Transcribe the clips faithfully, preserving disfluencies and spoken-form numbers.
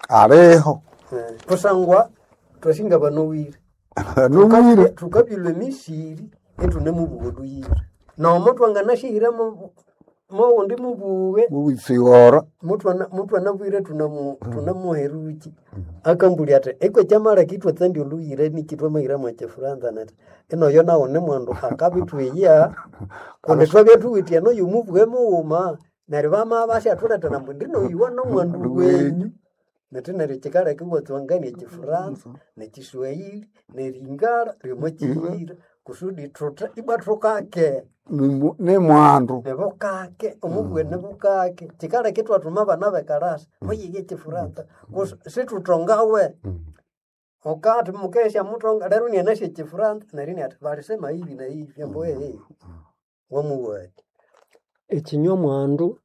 Aliho. Eh, kusangwa twasinga banowire. Nowire. Tukabyulwa emisiri ithune mubuga oluyira. Nomo twanganashihira mo mowundi mubuge Mubisigora. mutwana mutwanabwire tunamu tunamuheruki akambulya ati ekwe kyamala kitwa tsandi oluyira nikitwa mahira mwa kyefuranza nati enoyo nawo ni mwandu akabitwiya kundi twabya thuwithe eno yumubuge mughuma neryo bamabya basyathulethera ambu ndinoyuwa nomwandu wenyu neti neryo kyikaleka iwatswangania ekyifuranza nekiswahili neringara ryomo kyiyira kusudi thuthe ibwa thukake Ni- Ni mwandu. nibukake omubuge nibukake kyikaleka ithwathuma abana bekalasa muyige ekyifuranza Kus- situthongawe ukathi mukesya muthonga lero nianasya ekyifuranza neryo iniathi balisema hivi na hivi ambu ehe wamuwati Ekinywa mwandu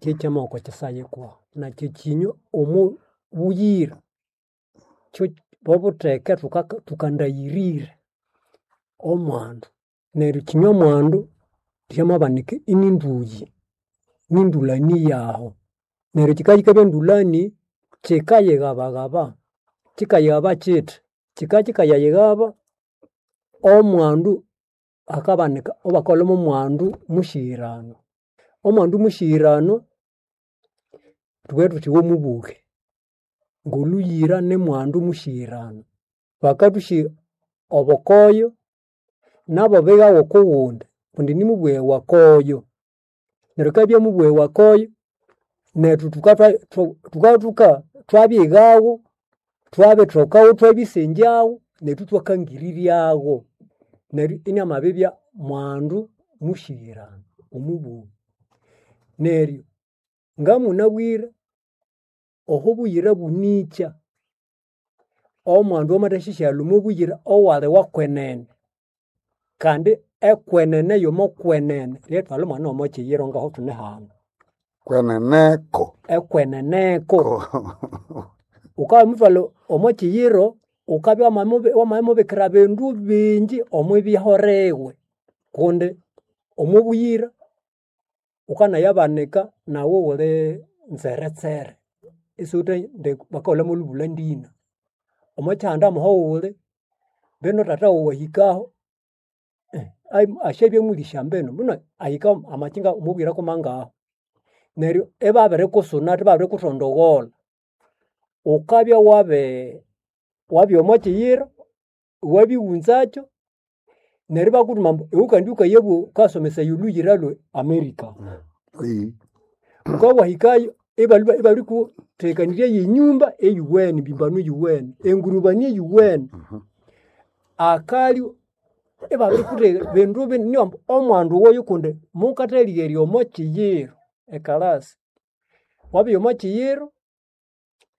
kyekyamahoko kyisayikwa nakyo ekinywa omu buyira kyo bobutheke thuka- thukandayirire omwandu neryo ekinywa mwandu kyamabanika ininduyi nindulani yaho neryo kikabya endulani kyikayighabahaba kyikayighaba kyithi kikakikayayighaba omwandu akabanika obakalhwamo omwandu musyirano. Omwandu musyirano thubughe thuthi womubuge ngoluyira nimwandu musyirano. Bakathusyi obukoyo nabo bighawa okuwundi kundi nimubughe wakoyo. Neryo kabya mubughe wakoyo nethu thukatha thukathuka thwabyighawo twabithokawo thwabisengyawo nethu ithwakangiriryawo. Neryo inamabibya mwandu musyirano omubughwe. Neryo ngamunabwire oho buyira bunikya omwandu wamathasyasyalha omo buyira owali wakwenene kandi ekwenene yomokwenene lyerithwalha omwana womo kyiyiro ngaho thune hano. Kweneneko. Ekweneneko. Wukamuthwalha omo kyiyiro wukabya wamamubi wamamubikira bindu bingi omwibyaho kundi omo buyira wukanayabanika nawu wuli nzeretsere isiwuthe bakahulha molubulha ndina. Omo kyihanda muhowuli mbinu thatha wawu ahikaho asyabya mulisya mbinu mbinu ahika amakinga omobuyira kumangahu. Neryo ibabirikusuna ibabirikuthondogolha wukabya wabi wabya omo kyiyiro iwabighunzakyo neryo ibakuthuma ambu iwe kandi wukayabugha wukasomesaya olhuyira lwe America. Ee. Wukabya wahikayo ibalwa ibabirikuthekanirya yenyumba eyuwene embimbano eyuwene, engurubani eyuwene. Akalyo ibabirikutheka bindu binene ambu omwandu oyo kundi mukathaligherya omo kyiyiro ekalasi. Wabya omo kyiyiro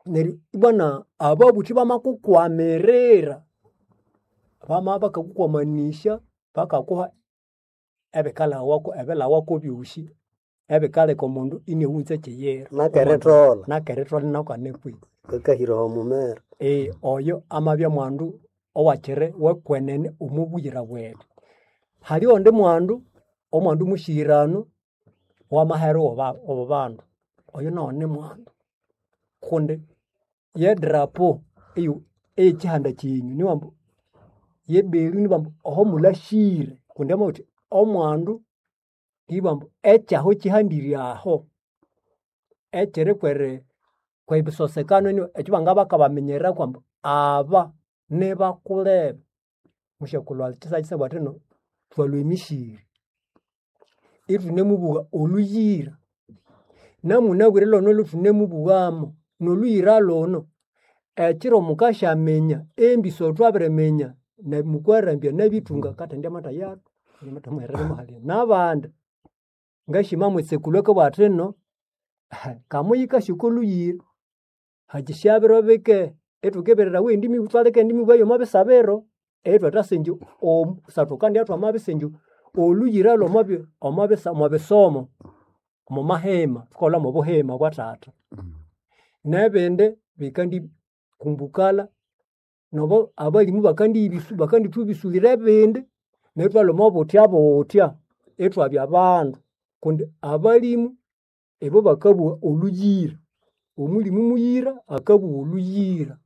neryo ibwana ababuthi bamakukwamirira bamabya bakakukwamanisya bakakuha ebikalhawako ebilhawako ebyosi ebikaleka omundu iniaghunza ekyiyiro. Nakeritholha. Nakeritholha inakane kwi. Kakahira omumera. Ee oyo amabya mwandu owakyiri wekwenene omo buyira bwethu. Haliho ondi mwandu, omwandu musyirano wamahere obo bandu oyo nawu ni mwandu kundi yedrapo eyu eyekyihanda kyenyu niwambu yebelu nibambu oho mulhasyire kundi wamabugha wuthi omwandu ibambu ekyahu kyihandire aho ekyiri kweri kwebisosekano ekyo bangabakabaminyereraku ambu aba nibakulebe. Musyakulhu kyisakisabwa thino thwalhwa emisiri ithunemubugha olhuyira namunabwire lhonu lhuthunamubughamu nolhuyira lhuno ekyiro mukasyaminya embiso thwabiriminya nemukwarambya nabithunga kathendya amatha yathu halya nabandi ngasyima mwitsekulhu akabugha athino kamuyikasya oko lhuyira hakisya biro bike ithukibirirawa eyindi mibughe ithwaleka eyindi mibughe yomo bisabiro ithwathasenja kusangwa thwamabisenja olhuyira lwomo omo bisomo omo mahema thukaghulha mobuhema bwa thatha. Nebindi bikandi kumbukala nobo abalimu bakandithubisulira ebindi neryo ithwalhwa omo buthya buthya ithwabya bandu kundi abalimu ibo bakabugha olhuyira. Omulimi muyira akabugha olhuyira.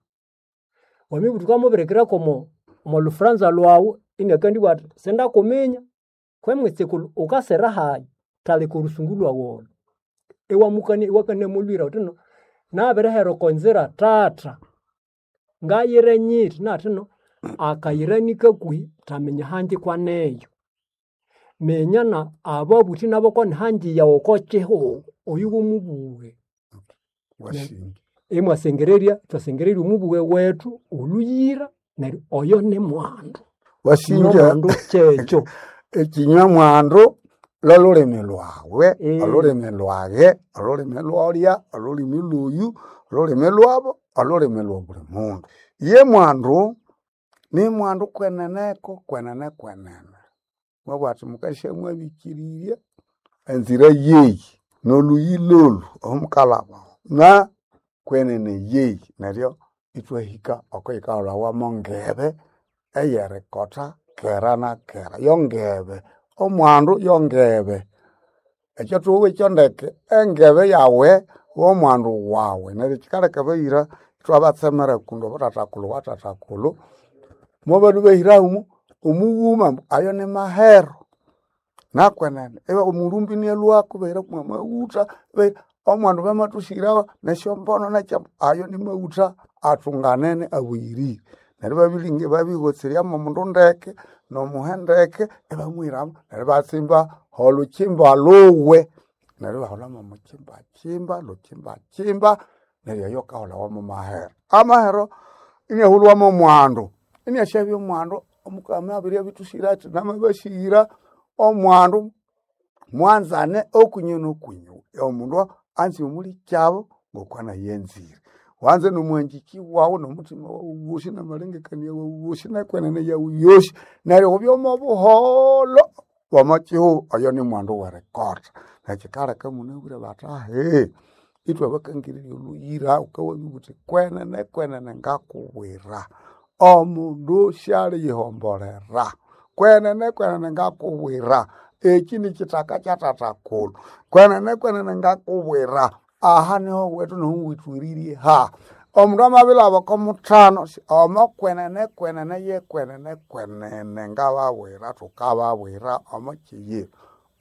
Wamabya thukamubirikira komo omo lhufuranza lhwawu iniakandibugha athi sindakuminya kwe mwitsikulu wukasira hayi thaleka orusungu lhwawu olho. Iwamukania iwakania molhuyira wuthi no nabirihera oko nzira thatha ngayire nyithi nathino akayira nikakuhi thaminya hangi kwaneyo. Minya na ababuthi nabo konihangi yawu oko kihugho oyu womubughe. Wasinja. Imwasengererya ithwasengererya omubughe wethu olhuyira neryo oyo ni mwandu. Wasinja Nomwandu kyekyo. ekinywa mwandu lolulimi lwawe, Eh. olulimi lwage, olulimi lwolya, olulimi lwoyu, olulimi lwabo, olulimi lwa buli mundu. Ye mwandu ni mwandu kweneneko kwenene kwenene. Mwabugha athi mukasya mwabikirirya enzira yeyi noluyi lolu omukalaba na kwenene yeyi neryo ithwahika okuyikahulhawa ngebe eyerikotha kera na kera yongebe omwandu yongebe ekyo thuhuwa ekyo ndeke engebe yawe womwandu wawe neryo kyikaleka abayira ithwabatsemera kundi obo thathakulhu wa thathakulhu mobalhwa ibahiramu omughuma ambu ayo ni mahero nakwenene iba omulumbi inalhwako ibahira mwamaghutha ibahira omwandu bamathusyirawa nesyombono nekya ayo ni maghutha athunganene abuyirire. Neryo ibabilinga ibabihotseryamu omundu ndeke nomuhe ndeke ibamuhiramu neryo ibatsimba olhukimba lhuwe neryo ibaholhamu mukyimbakimba lhukimbakimba neryo eyo yakahulhawa mu mahero. Amahero iniahulhwamu omwandu iniasyabya omwandu omukama abiryabithusira athi namabasihira omwandu mwanzane okunyu nokunyu. Omundu anze omulikyabo ngokwanayenzire. Wanze nomwanjiki wawu nomuthima wawu wosi namalengekania wawu wosi nekwenene yawu yosi neryo wubye omo buholho omo kihugho oyo ni mwandu werikotha. Nekyikaleka imunabwire bathi ahee ithwabakangirirya olhuyira wukawabya wuthi kwenene kwenene ngakubwira omundu syaliyihombolera. Kwenene kwenene ngakubwira ekyi nikyithaka kyathathakulhu. Kwenene kwenene ngakubwira aha niho wethu niho withwiririe ha. Omundu amabilhaba oko muthano omo kwenene kwenene yekwenene kwenene ngababwira thukababwira omo kiyira.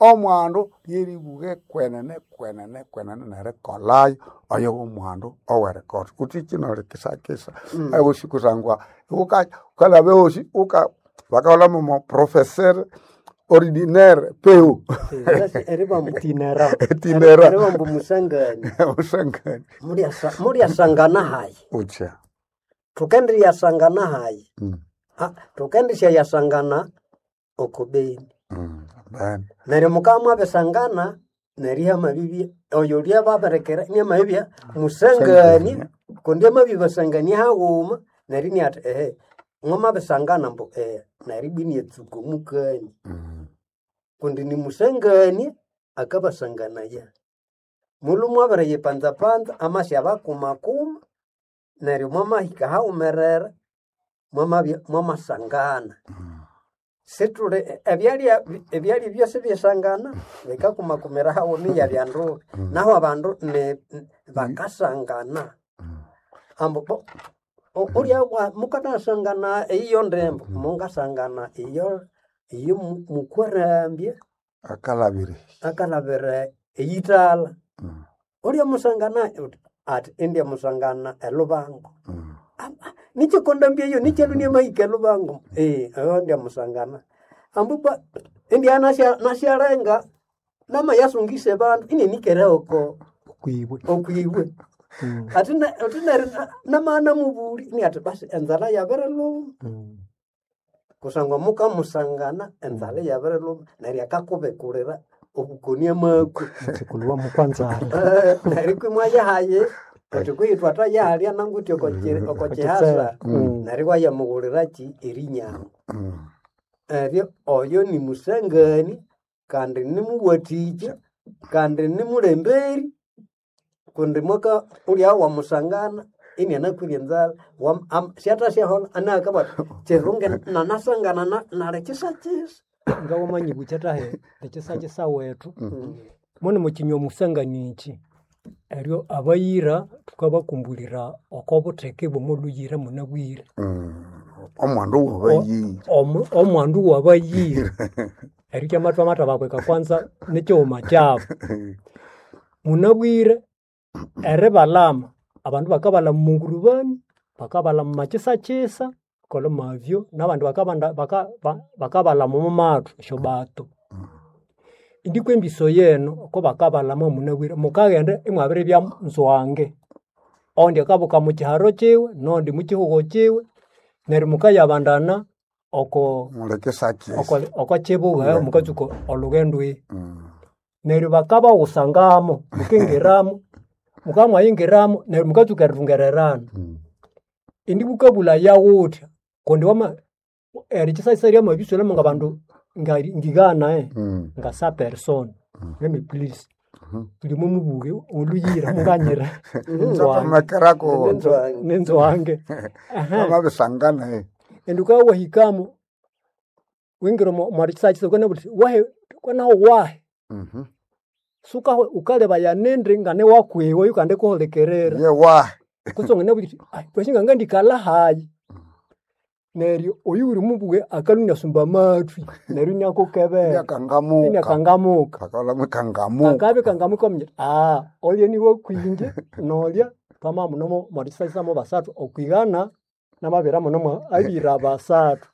Omwandu lyeribugha kwenene kwenene kwenene nerikolhayo oyo womwandu owerikotha. Wuthi noli kisakisa ewosi kusangwa wuka wukalhaba ewosi wuka bakaholhamu omo professeur ordinaire peu eribambu Itinera. Itinera. eribambu musangani usangani Mulyasa- mulyasangana hayi utya thukendiryasangana hayi Mm, Ah, thukendisyayasangana oko beni mm, amen. neryo mukabya mwabisangana neryo ihamabibya oyo lyababirikira inamabibya musangani kundi amabibasangania haghuma neryo iniathi ehe mwamabisangana ambu ehe neryo ibwa iniatsuka omukani Mm, kundi nimusangania akabasanganaya. Mulhu mwabiriyipanzapanza amasyabakumakuma neryo mwamahika haghumerera mwamabya mwamasangana. Sithuli ebyalya ebyalya byosi byesangana bikakumakumira haghuma iyabya ndubi. Nahu abandu ni bakasangana ambu bo o- ulya wa- mukanasangana eyiyo ndembo mungasangana iyo iyo mu- mukwarambya akalabire akalabira eyithala. Mm, Ulya musangana uthi athi indya musangana elubango. mm, Nikyikondambya eyo nikyalhunia amahika elubango ee oyo ndya musangana. Ambu bwa indya nasya nasyalenga namayasungisa abandu inianikere oko Okwibwe. okwibwe. Mm. Athi ne- athi neryo na- namana mubuli iniathi basi enzalha yabirilhuma Mm. kusangwa mukamusangana enzalha iyabirilhuma neryo akakubikulira obukoni amakwe. Mutsikulhu wamukwanzala. Eh, neryo kwi mwayahaye uthi kwihi twathayahalya nangu uthi oko- oko kihasa Mm. neryo iwayamughuliraki erinyangu. mm. Eryo oyo nimusangani kandi nimuwathikya kandi nimulemberi kundi mwaka ulya wamusangana inianakwire enzalha wam- am- syathasyaholha anakabugha athi kirungi nanasangana na- nali kisakisa. Ngawamanyibukya thahe ekisakisa wethu mune mukinywa musangani iki. Eryo abayira thukabakumbulira oko butheke bw'omolhuyira munabwire. Mm. Omwandu wabayira. Omu- Omwandu wabayira. Eryo kyamathwa amathabakweka kwanza nikighuma kyabu. Munabwire eribalama, abandu bakabalama omungurubani, bakabalama omu makyisakyisa, kolha mavyo, n'abandi bakabanda baka ba- bakabalama omu mathu esyobato. Indi kw'embiso yenu oko bakabalama munabwire mukaghenda imwabiribya nzwange. Ondi akabuka mukiharo kiwe, n'ondi mukihugho kiwe, neryo mukayabandana oko Mulekisakisa. oko oko kibuga mukatsuka olhughendo eyi. Mm. Neryo bakabawusangamo, mukingiramo, mukabya mwayingiramo neryo mukatsuka erithungererana. Mm. Indi bukabulaya wuthya kundi wama erikyisakisa lyamabisualhamu ngabandu nga- ngigana eh, Mm. nga sa person lemme please Mhm. buli mumubuge oluyira munganyira nenzwange Nzatomekerako Nenzwange. nenzwange Ehe. amabisangana eh. Indi ukabya wahikamo wingira omo mwarikyisakisa ukanabugha wuthi wahe kwanaho wahe Mhm. suka ukalebaya nindi ngane wakwiwe yukandi kuhulikirira Ye wahe. kutse wanganabugha wuthi "Ai, kwesi ngangandikala hayi neryo oyu wuli mubuge akalwa inasumba amathwi neryo inakukebera Inyakangamuka. inakangamuka Kakola mwikangamuka. akabya kangamuka omunya aa olya niwe kwinje nolya twama muno mwarikyisakisa mo basathu okwigana namabira muno mwa abira basathu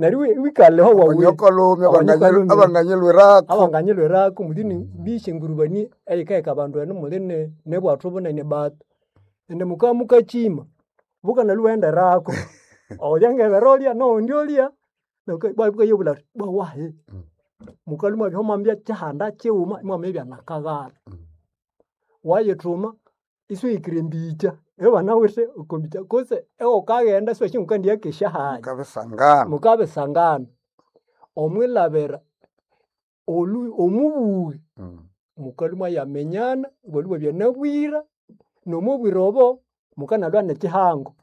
neryo iwi- wikaleho wawuye Abanyokolome Abanyokolome. abanganyilwirako. abanganyilwirako muli ni bisha engurubani eyikaheka abandu enu muli ne nebwathu bunene bato indi mukabya mukakima bukanalwa iwaghenderako olya ngebera olya nowundi olya bukayabulha athi bwa wahe mukalwa imwabya mwamabya kyihanda kighuma imwamabya nakaghala wayithuma isiwahikire embikya ibanawithe oko mbikya kutse iwukaghenda isiwasi ngukandiyakesya hayi Mukabisangana. mukabisangana omwilabira olu omubughĩ Mm. mukalhwa imwayaminyana ibwalhwa ibwabya nabwira nomubwire obo mukanalwa nekihango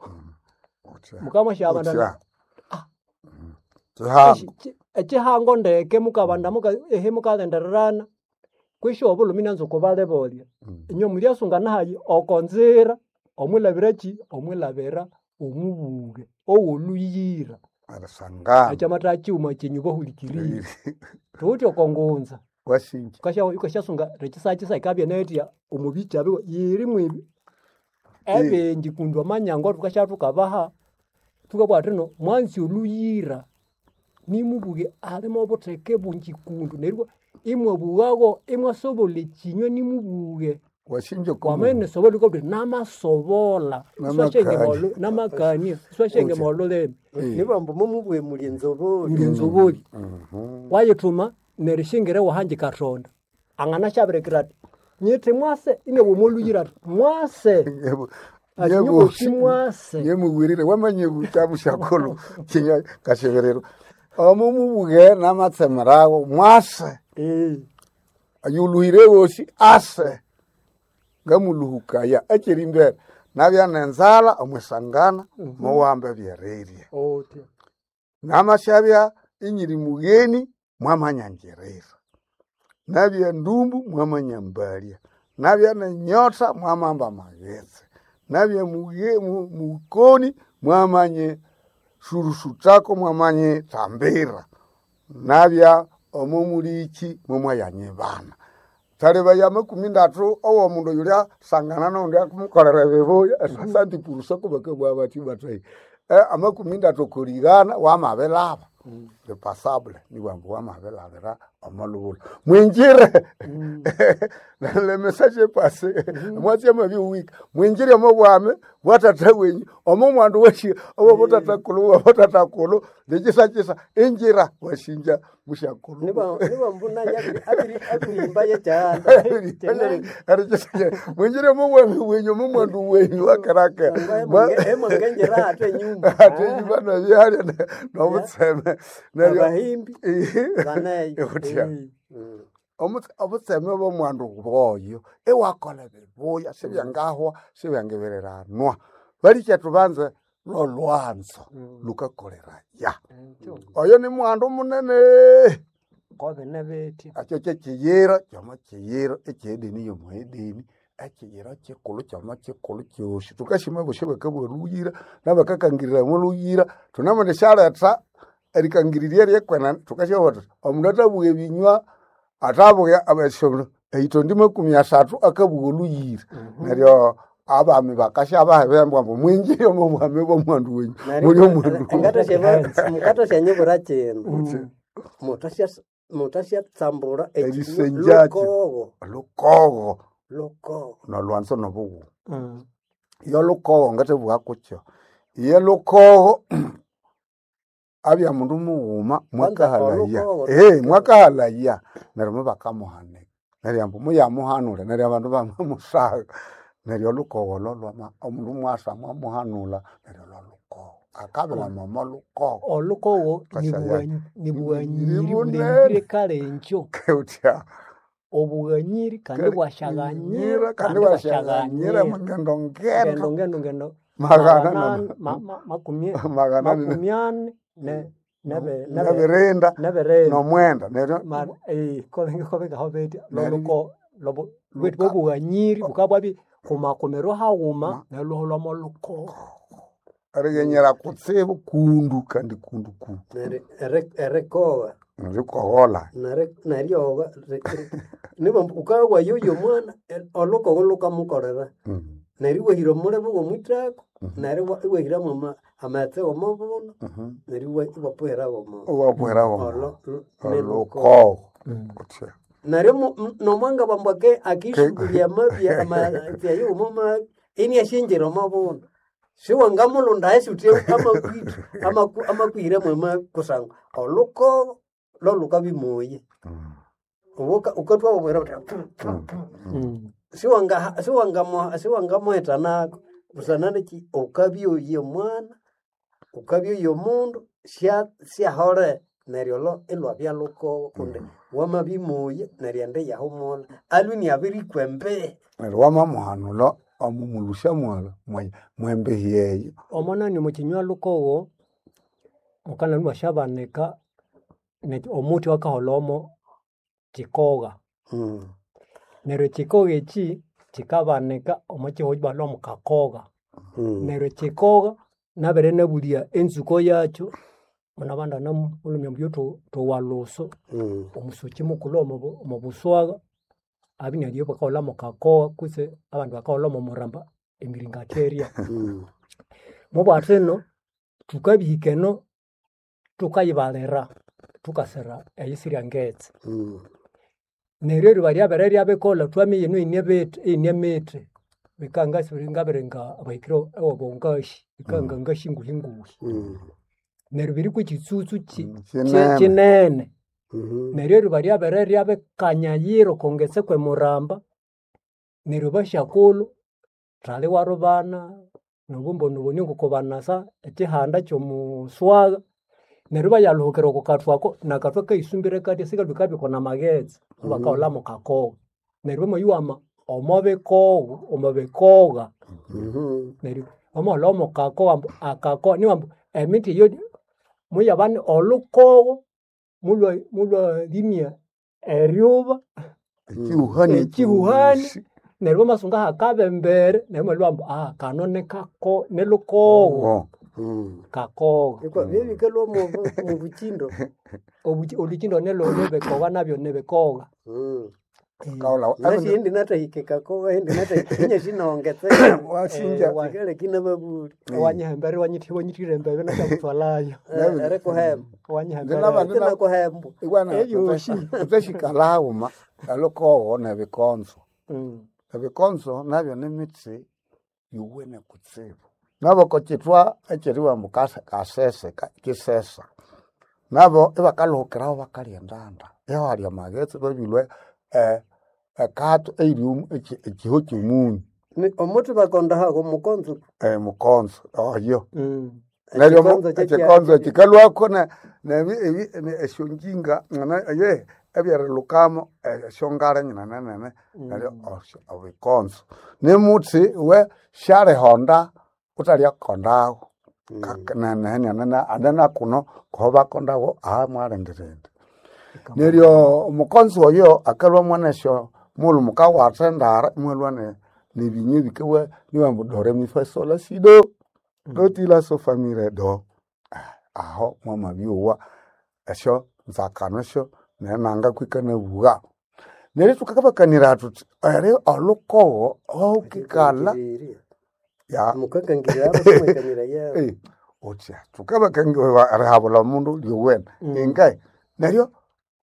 Utya. mukamwasyabandana Utya. Mm. Kihango. ekihango ndeke mukabanda muka ehe mukaghendererana kwisyo obulhumi inanza okubalibolya Mm. inywe mulyasunga hayi oko nzira omwilabira ki omwilabira omubuge owoluyira Erisangana. ekyamatha kighuma kyenyu bahulikirire thuthi oko ngunza Wasinja. ukasya ukasyasunga rekisakisa ikabya netya omubikya biwe yiri mwibi ebingi kundi amanyangwa thukasya thukabaha thukabugha thino mwanzi oluyira nimubuge alimo obutheke bungi kundu neryo imwabughagho imwasobolha ekinywa nimubuge Wasinja wamene sobola ukabugha uthi namasobola Namakania. namakania iswashengema olulimi nibambu mumubwe muli enzoboli muli enzoboli Mhm. wayithuma neryo shingire wahangi kathonda angana syabirikira ati nyithi mwase inabwa oluyira ati mwase Yebo. ati Yebo. nyobosi mwase Yemugwirire wamanye butabu shakolo kinya kasheberero. Omo mubuge namatsemerawo mwase. Eh, Ayuluhire wosi ase. Ngamuluhukaya ekiri mbere. Nabya nenzala omwisangana muwambe byerirye. otya Namashabya inyiri mugheni mwamanyangirira. Nabya ndumbu mwamanya mbalya. Nabya nenyota mwamamba maghetse. Nabya muge, mu, mukoni mwamanye surusutako mwamanye tambira. Nabya omo muliki mwamwayanyibana. Taliba ya makumi ndatu owo mundu yulya sangana nondi akumukolera bibuya esasanti purusa kubakabwa bati batai. Eh, amakumi ndatu kuligana wamabilaba le passable ni wambu wamabilabira omalubula mwinjire le message est passé mwatsi amabi wika mwinjire omo bwame bwatata wenyu omo mwandu weshi obo butatakulu obo butatakulu lekisakisa injira washinja mushakulu nibambu naye abiri yekyanda mwinjire omo bwame wenyu omo mwandu wenyu wakaraka emwangenjera ate enyumba ate enyumba nabyalya nobutseme neryo abahimbi baneyo utya Omu- obutseme bw'omwandu bwoyo iwakola bibuya sibyangahwa sibyangibiриranwa balikya tubanze lolwanzo lukakoleraya oyo ni mwandu munene kobine bitya akyo kyekiyira kyomo kiyira ekyedini yomo edini Ekiyira kikulu kyama kikulu kyosi tukashima bosi bakabugha oluyira nabakakangirira oluyira thunemundisyaletha erikangirirya ryekwena tukasyabuga thuthi omundu athabugha ebinywa athabugha abasyo eyitondi makumi asathu akabugha oluyira neryo abami bakasyabaha ebihembo ambu mwingire omo bwami bw'omwandu wenyu muli omwandu Ngatasya kino mutasyatsambura Erisenjakyo. lukogo lukogo lukogo nolwanzo nobughuma Mm. iyo lukogo ngathabugha kukyo iye lukogo abya mundu mughuma mwakahalaya olukogo- ehe mwakahalaya neryo mubakamuhanika neryo ambu muyamuhanula neryo abandu bamamusagha neryo olukogo lolwama omundu mwasa mwamuhanula neryo lolukogo akabilama omo lukogo Olukogo Kasaya. ni Ni bughanyiri bunene. bulengire kale enkyo utya obughanyiri kandi bwasyaghanyira kandi bwasyaghanyira mungendo ngendo ngendo ngendo ngendo magana magana ma- ma- makumi magana makumi ane ne nebe nebe nebirinda nebirinda nomwenda neryo Ma- eh, kobe kobe beti Neryo- loluko lobo lwetu Luka- bobughanyiri bukabwabi kumakomero haghuma Ma- neluho lwamo lukogo erighenyera kutsibu kundu kandi kundu kundu Neryo eri- erikowa rikohola neri- neryowa niba ukawa yoyo mwana eh, olukogo lukamukolera Mm, neryo iwahira omulebe w'omwithako Mhm. neryo iwa- iwahiramu ama- amaghetse w'omubuno mhm. neryo iwa- iwapuhira w'omo Iwapuhira w'omo. olo nelukogo olukogo utya neryo mu- mu- nomwanga bambu ake akishughulya amabya amaghetse ayo omo mabi iniasyenjera omo buno siwangamulunda esi uthi amakwithu amaku- amakwihiramu amabi kusangwa olukogo lolukabimoye Mm, ukathwa wabwira uthi mm, Mm. siwanga siwangamu siwangamuheta nako busana neki ukabyoya omwana ukabyoya omundu sya syahole neryo lo ilwabya lukogo kundi wamabimoya neryo ende yahumula alwe inabirikwa embi neryo wamamuhanula omumulusya mwala mwe- mwembehi eyo omonani mukinywa lukogo mukana lwashabanika ne- omuti wakaholha kikogha neryo ekikogha eki kikabanika omo kihugho balhwa mukakogha neryo ekikogha nabere nabulya enzuko yakyo munabanda namulhumya mbulyo thowaluso omusoki mukulhu omo omo buswagha abya inalyo bakaholha mukakogha kutse abandi bakaholha omo muramba emiringatheria mubwatha ino thukabihika eno thukayibalira thukasira eyisirya ngetse neryo eriba ryabere ryabikolha thwaminya eno ine bithi ine mithi bikangasi ngabiringa abahikire ewabongashi bikanga ngashi nguhi nguhi neryo biriko ekitsutsu ki- Mm, ki- kinene. kinene neryo eriba ryabere ryabikanyayira okongetse kwemuramba neryo basyakulhu thali warubana nobumboniboni ngokubanasa ekihanda kyomuswagha neryo bayalhuhukira oko kathu ako nakathu akaisumbire katya sikalhwa kabikwa namaghetse bakaholha mukakogha neryo bamayuwama omo bikogho omo bikogha neryo wamaholha omukakogha ambu akakogha niwa ambu emithi eyo muyabane olhukogho mulwa mulwalimya eryuba ekihuhani ekihuhani ekyosi. neryo bamasunga hakabembere neryo mwalhwa ambu ah kano nikako nilhukogho Oh, kakogha ikwa byebikalhwa mubukindo Obuki- olukindo nilo nibikogha nabyo nibikogha kaholha nasi indi nathahika kakoga indi nathahika inyasi nongetse wasinja Eh, wa- sikaleki nababuli wanyihembere wanyithi wanyithire embebe nasyamuthwalayo erikuhemba wanyihembere Ndinabandi- tinakuhembwa Iwana Eyoshi. tuthashikalhaghuma elukogo nebikonzo Mm. ebikonzo nabyo nimitsi yuwene kutsibu nabo kochithwa ekyeriwa mbu kase- kasese ka- kisesa nabo ibakalhuhukiraho bakalya endanda ihalya amaghetse babilwe eh, ekathu eyiri omu- eki- ekiho kyomunyu Ni- omuthi bakondahago mukonzo eh, mukonzo oyo Mm. neryo mu- Ekikonzo kyekya- ekikonzo kikalwako ne- nebi- ebi- ne- esyonjinga ngana- ye ebyerilukamo esyongale nyinanenene neryo osyo- obikonzo nimuthi we syalihonda utalyakondago anene kuno koho bakondago aha mwalindirindi neryo omukonzo oyo akalwa mwanesyo mulhu mukawatha endara imwalwa ne- Nebinywe bikawa niwambu do re mi fa sol la si do do ti la so fa mi re do. Ah, aho mwamabyowa esyo nzakano esyo nenanga kwikanabuwa. Neryo thukakabakanira thuthi eri olhukogo ahawukikala ya mukakangirira abasimwekanira yabo eh, uthya thukabakangira erihabulha omundu lyowene Mm. ingaye neryo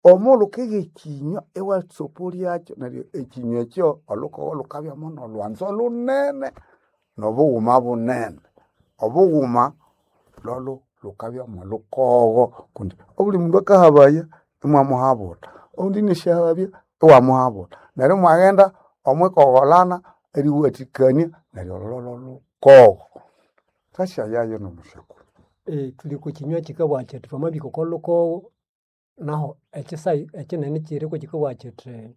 omulhu ukigha ekinywa iwatsopolyakyo neryo ekinywa ekyo olhukogo lhukabyamo nolhwanzo lunene nobughuma bunene. Obughuma lholhu lhukabya mwolhukogo kundi obuli mundu akahabaya imwamuhabulha, oundi inasyahabya iwamuhabulha. Neryo imwaghenda omwikogholana eriwathikania neryo olho lholhukogo. Thasyayayo nomusyakulu. Eh, thuli kukinywa kikabugha kyithi thwamabika oko lhukogo naho ekisayi ekinene kiriko kikabugha kyithi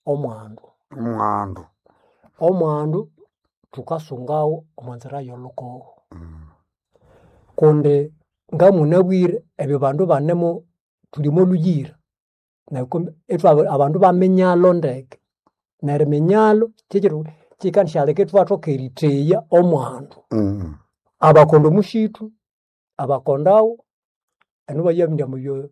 omwandu. Omwandu. Omwandu thukasungawo omo nzira y'olhukogo kundi ngamunabwire ebyo bandu banemo thuli omo lhuyira neryo kumbe ithwa abandu baminyalho ndeke neryo eminyalho kyekyiro kyikandisyaleka ithwathoka eritheya omwandu. Mm. Abakonda omushithu, abakondawo eno bayabindya mubyo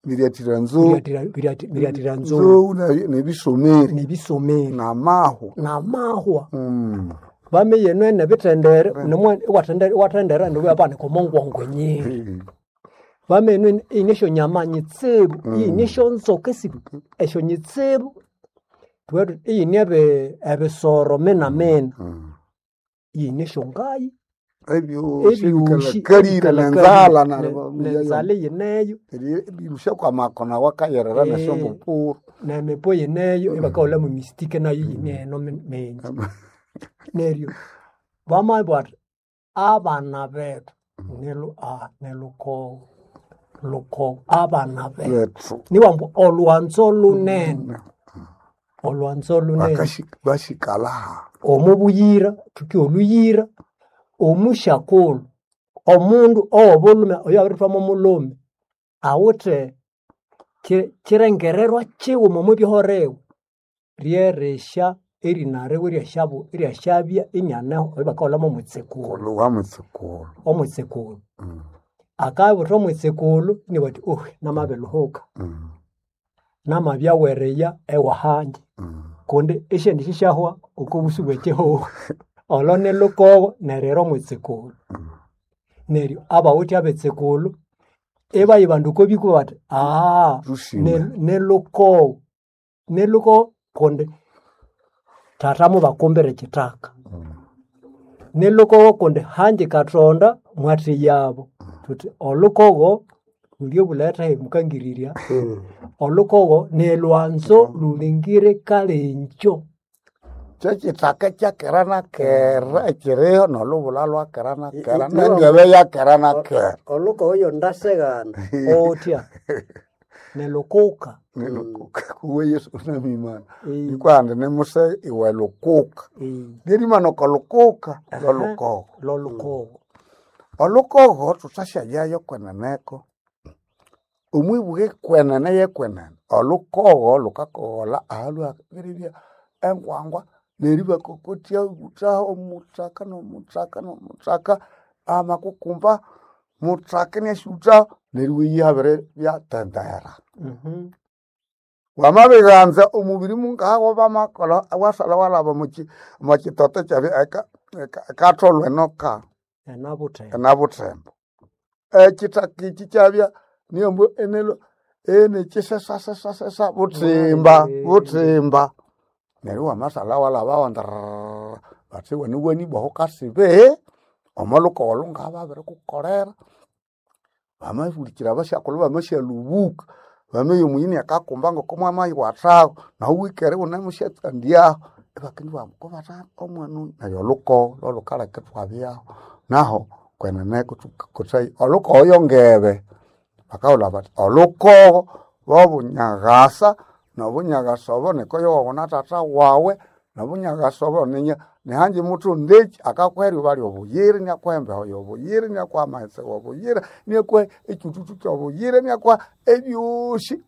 Miryathira nzou biryathira biryathira nzou nzou ne- nebisomeri nebisomeri namahwa. namahwa Mm. bamiya eno enebithendere nemwa iwathendera iwathendera neryo omo ngwongo nyingi. Eh. Bamiya eno iyine esyonyama nyitsibu, iyine esyonzoka esi esyonyitsibu, thuwethu iyine ebi- ebisoro mina mina, Mm. iyine esyongayi, Ebyosi ebyosi ebikalakalire nenzalha ne- nenzalha iyineyo neryo kwamakona wakayerera Eh. nesyombupuru. nemipo yineyo ibakahulhamu emistike nayo iyine eno mi- mingi. Neryo bamabugha bathi abana bethu nilu ah nilukogo lukogo abana bethu Bethu niwambu olhwanzo lunene olhwanzo lunene bakashi- bashikalaha. omo buyira thuki olhuyira omusyakulhu omundu owobulhume oyo abirithwamo mulhume awithe ki- kirengererwa kighuma omo byohoriwe ryerisya erina riwe iryasyabu iryasyabya inianeho oyo bakahulhamu omwitsikulu Kulhu wa mwitsikulu. omwitsikulu Mm. akabutha omwitsikulu inibugha athi ohi namabirilhuhuka Mm. namabyawereya ewahanje Mm. kundi esyendi sisyahwa oko busu bwekihugho olho nilhukogo neryo omwitsikulu neryo abawithe abetsikulu ibayibandu oko bikuba bathi aa Lusime. nilhukogo nilhukogo kundi thatha mubakumbira ekithaka nilhukogo kundi hanji kathonda mwathiyabo thuthi olhukogo lulye bulethe mukangirirya olhukogo nilwanzo lulingire kalengyo Kyekithaka kyakera na kera ekiriho nolhubulha lwakera na kera I- i- nengebe yakera na kera. olhukogo yo ndaseghana otya nilukuka Nilukuka kuwe Yesu unamimana. Eh, Nikwandi nimuse iwe lukuka. eh, Lyerimana okolukuka lolukogo. lolhukogo Olukogo thuthasyalyayo kweneneko. Omwibuke kwenene yekwenene. Olukogo lukakogholha ahalwabiribya engwangwa neryo ibakokotya ibuthaho omuthaka nomuthaka nomuthaka amakukumba muthaka iniasyuthaho neryo iwayiha ibiribya tendera. Mhm. Wamabighanza omubiri mungaha bamakolha wasalha walhaba omukyi omwakitoto kyabya eka- eka- ekatholwa enoka Enabuthembo enabuthembo. Ekithaka ekyi kyabya niyombu enelwa enekyisesasesasesa buthimba buthimba. Neryo wamasalha walhabaho ndirira bathi iwaniwanibwa aho kasibe omo lhukogo olhungaha babirikukolera. Bamahulikira abasyakulhu bamasyalubuka bamaya omuyini akakumba ngoko mwamayiwathaho nahu wikere iwunemusyatsandyaho ibakendibugha ambu kobatha omwana oyu neryo olhukogo lholhukaleka ithwabyaho. Naho kweneneko thukakothaya olhukogo yongebe bakahulha bathi olhukogo lwobunyagasa nobunyagasa obo nikoyo wuna thatha wawe nobunyagasa obo ninya nihanji muthu ndeki akakuha eryuba lyobuyira iniakuha embeho yobuyira iniakuha amaghetse wobuyira iniakuha ekyithuthu kyobuyira iniakuha ebyosi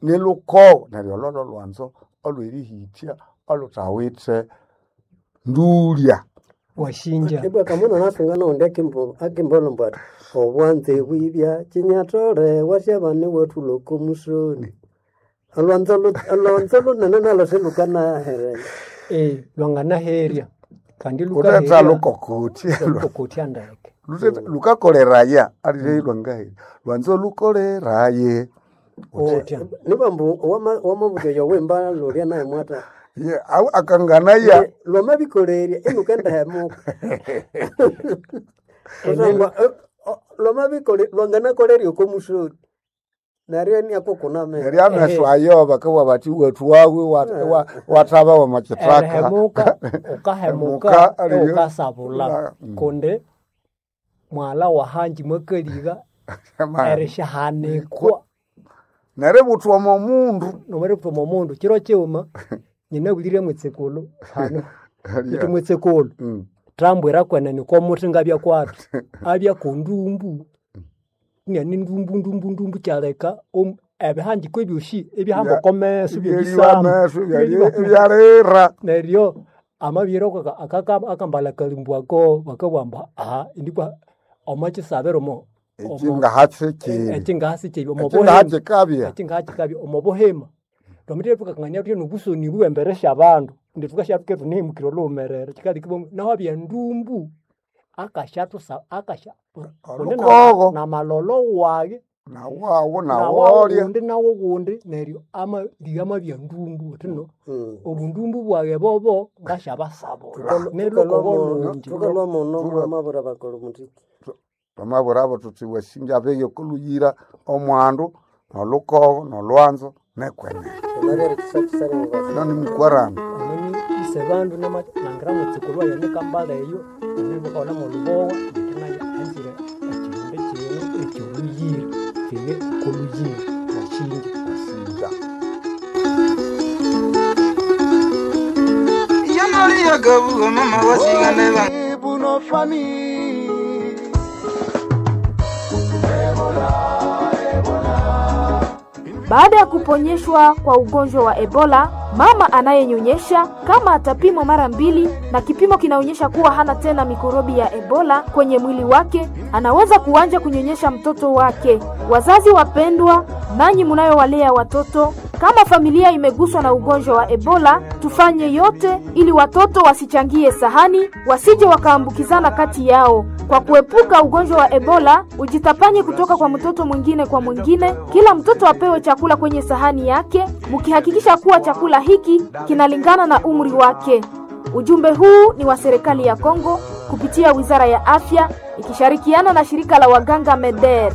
nilhukogo neryo olwo lholwanzo olwerihithya olhuthawithe Ndulya. Washinja. Ibwa kamuna nasunga naundi akimbo akimbolombo ati obwanze bwibya chinyatole washabane watuloko musoni. Olwanzo lu- olwanzo lunene nalo silukanahere. Eh, lwanganaherya kandi Kuthetha lukaherya lukokotya. lukokotya ndeke. Luthetha lukakoleraye alire lwangaherya. Lwanzo lukoleraye. Otya. Nibambu wamabuya yowemba lulya naye mwata. Ye au akanganaya Lwamabikolerya inukendahemuka. Kusangwa lwamabikole lwanganakolerya oko musoni. Neryo iniakukuname. neryo ameso ayo bakabugha bathi wethu wawe wathaba wamakyithaka. Erihemuka ukahemuka Hemuka, aliyo- ukasabula Mm. kundi mwala wahanji mwakaliga erishahanikwa Neryo buthwa omo mundu. nomeripfuma omundu kiro kighuma nyinabulire mwitsikulu hano iti mwitsikulu Mm. thambwira kwenene komuthi ngabya kwathu abya kondumbu niani ndumbu ndumbu ndumbu kyaleka om- ebihanjiko ebyosi ebihamba okomeso Ebyeriwa byebisama ameso ebyalira. neryo amabiri akambala kalimbu ako bakabugha aha indikwa omo kisabiro omo Ekingahatsikiri. ekingahasikiri Ekingahatsikabya. ekingahatsikabya omo buhima twamithire thukakangania thuthi nobusoni bwembere syabandu indi thukasya thunehimukire olhughumerere kyikaleka ibwa nahu abya ndumbu akashathusa akasha kundi na- Olukogo. namalolo wage Nawawo nawawo nawolya. wundi nawo wundi neryo amaliga amabya ndumbu uthi no Mm. obundumbu bwage bobo ngasyabasabula nelukogo lungi Tukalwa muno mwamabura bakolo mutiki. Twamabwirabo thuthi wasinja abeyo okoluyira omwandu nolhukogo nolwanzo nekwenene. Neryo erikisakisana mubasa. Ino nimukwarana. omuni ise bandu langira mutsikulu waye nikambala eyo nibakaghulha molubowa indi nayo anzire ekihimbi kino ekyoluyira kine koluyira washinja Wasinja. Yamaliya mama wasigane ba Baada ya kuponyeshwa kwa ugonjwa wa Ebola, mama anayenyonyesha kama atapimwa mara mbili na kipimo kinaonyesha kuwa hana tena mikorobi ya Ebola kwenye mwili wake, anaweza kuanza kunyonyesha mtoto wake. Wazazi wapendwa, nanyi mnayowalea watoto, kama familia imeguswa na ugonjwa wa Ebola, tufanye yote ili watoto wasichangie sahani, wasije wakaambukizana kati yao. Kwa kuepuka ugonjwa wa Ebola, ujitapanye kutoka kwa mtoto mwingine kwa mwingine. Kila mtoto apewe chakula kwenye sahani yake, mkihakikisha kuwa chakula hiki kinalingana na umri wake. Ujumbe huu ni wa serikali ya Kongo kupitia Wizara ya Afya ikishirikiana na shirika la waganga MEDER.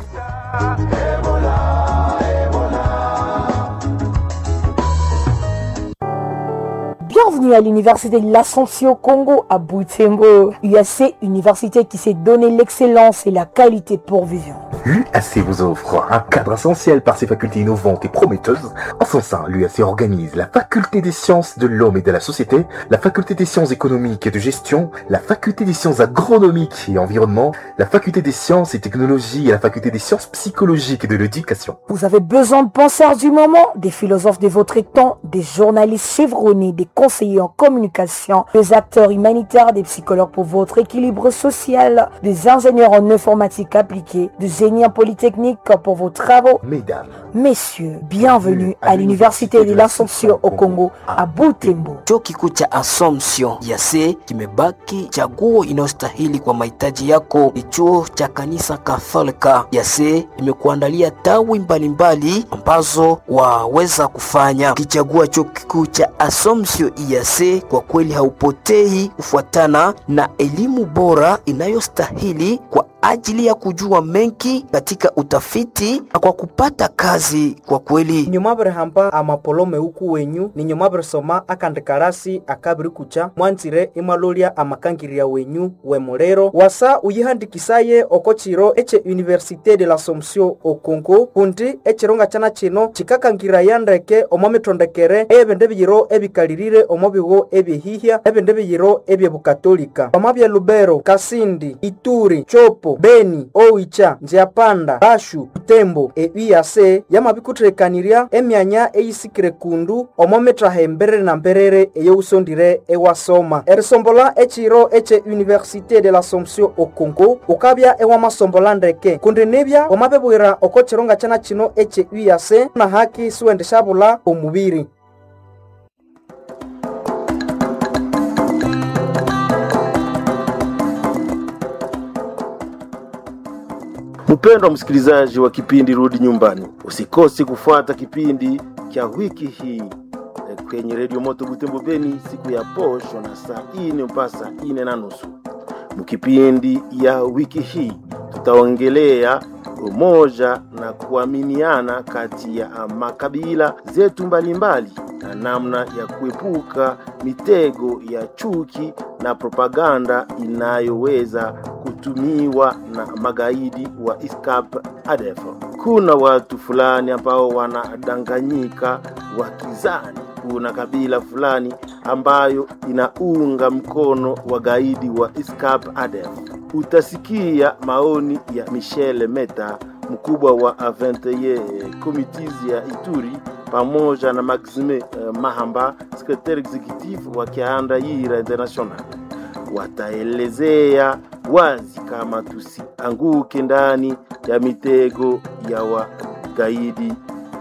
Bienvenue à l'université de l'Assomption au Congo à Butembo. U A C, université qui s'est donné l'excellence et la qualité pour vivre. L'U A C vous offre un cadre essentiel par ses facultés innovantes et prometteuses. En son sein, l'U A C organise la faculté des sciences de l'homme et de la société, la faculté des sciences économiques et de gestion, la faculté des sciences agronomiques et environnement, la faculté des sciences et technologies et la faculté des sciences psychologiques et de l'éducation. Vous avez besoin de penseurs du moment, des philosophes de votre temps, des journalistes chevronnés, des conseillers en communication, des acteurs humanitaires, des psychologues pour votre équilibre social, des ingénieurs en informatique appliquée, des génies en polytechnique pour vos travaux. Mesdames, Messieurs, bienvenue à l'université de l'Assomption au Congo à Butembo. Chuo kikuu cha Assumption ya C kimebaki chaguo inayostahili kwa mahitaji yako. Ni chuo cha kanisa Katholika ya C imekuandalia tawi mbalimbali ambazo waweza kufanya. Ukichagua chuo kikuu cha Assumption ya C, kwa kweli haupotei kufuatana na elimu bora inayostahili kwa ajili ya kujua mengi katika utafiti na kwa kupata kazi kwa kweli. Nyuma birihamba amapolome uku wenyu ninyuma birisoma akandikarasi akabirikucha mwanzire imwalolya amakangirya wenyu wemuliro wasa uyihandikisaye oko chiro eche Université de l'Assomption o Congo kundi echiro ngachana chino chikakangiraya ndeke omo mitondekere ebindi biyiro ebikalirire omo bigo ebyehihya ebindi biyiro ebyebukatolika omo bya Lubero, Kasindi, Ituri, Chopo Tshopo, Beni, Oicha, Nziapanda, Bashu, Butembo. E U A C yamabikuthekanirya emyanya eyisikire kundu omo mittaha emberere na mberere eyowusondire ewasoma. Erisombola ekiro eche Université de l'Assomption au Congo ukabya ewamasombola ndeke kundi nibya wamabibwira oko kiro ngakyana kino eche U A C na haki siwendishabula omubiri. Mpendwa msikilizaji wa kipindi Rudi Nyumbani, usikose kufuata kipindi cha wiki hii eh, kwenye Redio Moto Butembo Beni siku ya posho na saa ine mpaka saa ine na nusu. Mkipindi ya wiki hii tutaongelea umoja na kuaminiana kati ya makabila zetu mbalimbali na namna ya kuepuka mitego ya chuki na propaganda inayoweza kutumiwa na magaidi wa ISCAP A D F. Kuna watu fulani ambao wanadanganyika wakizani kuna kabila fulani ambayo inaunga mkono wagaidi wa ISCAP A D F. Utasikia maoni ya Michel Meta, mkubwa wa A vingt et un Committees ya Ituri, pamoja na Maxime eh, Mahamba, secrétaire exécutif wa Kianda Yira International. Wataelezea wazi kama tusianguke ndani ya mitego ya wagaidi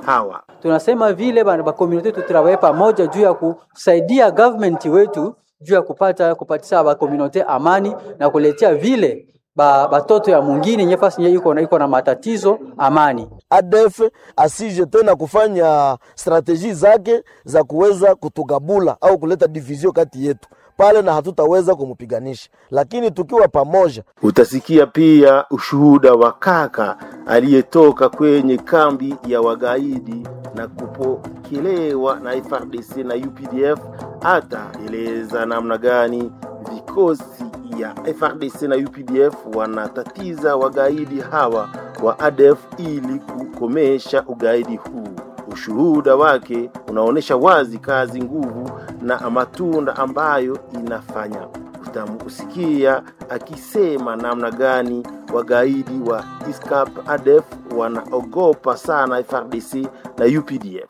hawa. Tunasema vile bana ba community tutravaye pamoja juu ya kusaidia government wetu juu ya kupata kupatisa ba community amani na kuletea vile ba batoto ya mwingine nyefasi nye iko na iko na matatizo amani. A D F asije tena kufanya strateji zake za kuweza kutugabula au kuleta division kati yetu pale, na hatutaweza kumupiganisha, lakini tukiwa pamoja. Utasikia pia ushuhuda wa kaka aliyetoka kwenye kambi ya wagaidi na kupokelewa na F R D C na U P D F. Ataeleza namna gani vikosi ya F R D C na U P D F wanatatiza wagaidi hawa wa A D F ili kukomesha ugaidi huu. Ushuhuda wake unaonesha wazi kazi, nguvu na matunda ambayo inafanya. Utamusikia akisema namna gani wagaidi wa I S C A P A D F wanaogopa sana F R D C na U P D F.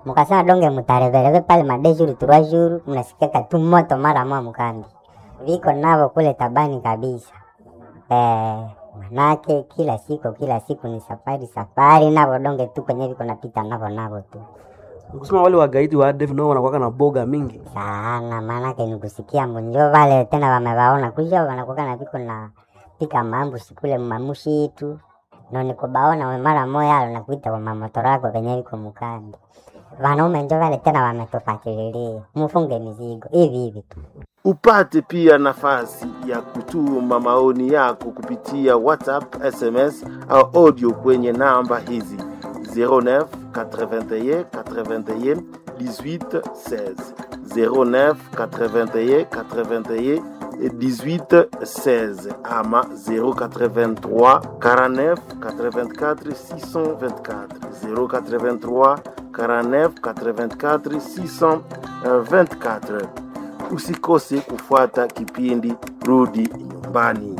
Mukasema donge mutarevereve pale madejuru turajuru, mnasikiaka tu moto mara mwa mkambi viko navo kule tabani kabisa. Eh, manake kila siku kila siku ni safari safari navo donge tu kwenye viko napita navo navo tu Nikusema wale wagaidi wa A D F nao wanakuwa na boga mingi sana, manake nikusikia mbonjo vale tena wamewaona kuja wanakuwa na viko na pika mambusi kule mamushi tu no nikubaona we mara moya alo nakuita kwa mamotoro yako venye viko mkambi. Wanaume njo vale tena wametufatililia, mufunge mizigo hivi hivi tu. Upate pia nafasi ya kutuma maoni yako kupitia WhatsApp, S M S au audio kwenye namba hizi zero neuf quatre-vingt-un quatre-vingt-un dix-huit seize, zero neuf quatre-vingt-un quatre-vingt-un dix-huit seize ama zero quatre-vingt-trois quarante-neuf quatre-vingt-quatre six cent vingt-quatre, zero quatre-vingt-trois quarante-neuf quatre-vingt-quatre six cent vingt-quatre. Usikose kufuata kipindi Rudi Nyumbani.